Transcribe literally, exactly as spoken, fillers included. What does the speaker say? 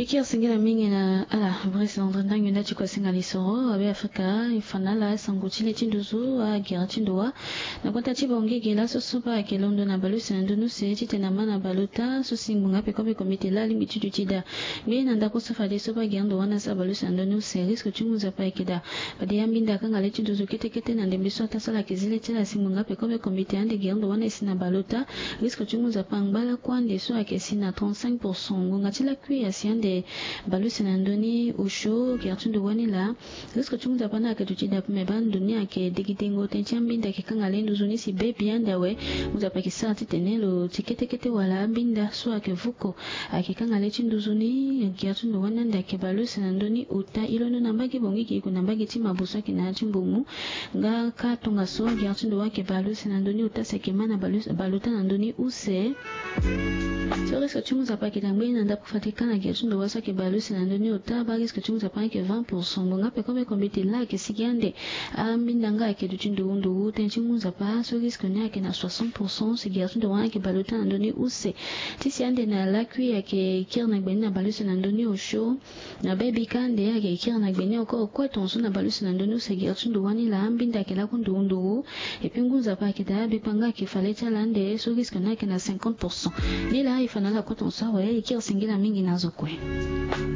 E kiri singila mingi na ala Brice Landry ndangi nda ti kua singa lisoro abe Afrika. E fa na ala sango ti le ti nduzu agere ti ndo wa na kota ti Bangui ge laso so baa ayeke londo na bale use na ndö ni use titene ama na bale ota so si ngbonga pekope komite laa alingbi ti duti daa. Ngbene na ndako so fadeso baa gere ndo wa ni asara bale use na ndö ni use, risque ti ngu nzapa ayeke daa. Fade ambinda akanga le ti nduzu kete kete na ndembe so ataa so ala yeke zi le ti ala si ngbonga pekope komite ande gere ndo wa ni asi na bale ota. Risque ti ngu nzapa angba lakue ande so ayeke si na trente-cinq pour cent. Ngonga ti lakui asi ande bale use na ndö ni osio gere ti ndo wa ni laa. Risque ti ngu nzapa ni ayeke duti daa ape me baa ndo ni ayeke degedengo tënë ti ambinda ayeke kanga le nduzu ni si be bi ande awe. Ngu nzapa ayeke sara titene lo ti kete kete wala ambinda so ayeke vuko ayeke kanga le ti nduzu ni. Gere ti ndo wa ni ande ayeke bale use na ndö ni ota. E londo na mbage Bangui ge e gue na mbage ti Mabo so ayeke na ya ti Mbomou. Nga kâ tongaso gere ti ndo wa ayeke bale use na ndö ni ota si ayeke ma na bale ota na ndö ni use. So risque ti ngu nzapa ayeke daa ngbene na ndako fade kâ na gere ti ndo wa so ayeke bale use na ndö ni ota baa risque ti ngu nzapa ni ayeke vingt pour cent. Ngbonga pekope komite laa ayeke sigi ande. Ambinda nga ayeke duti ndowu ndowu tënë ti ngu nzapa so risque ni ayeke na soixante pour cent si gere ti ndo wa ni ayeke bale ota na ndö ni use. Ti si ande na lakui ayeke kiri na gbe ni na bale use na ndö ni osio. Na be bi kâ ande ayeke kiri na gbe ni oko kue tongaso na bale use na ndö ni use gere ti ndo wa ni laa ambinda ayeke laku ndowu ndowu. Epui ngu nzapa ayeke daa bikpanga ayeke fa le ti ala ande so risque ni ayeke na cinquante pour cent. Ni laa e fa na ala kue tongaso awe e kiri singila mingi na zo kue.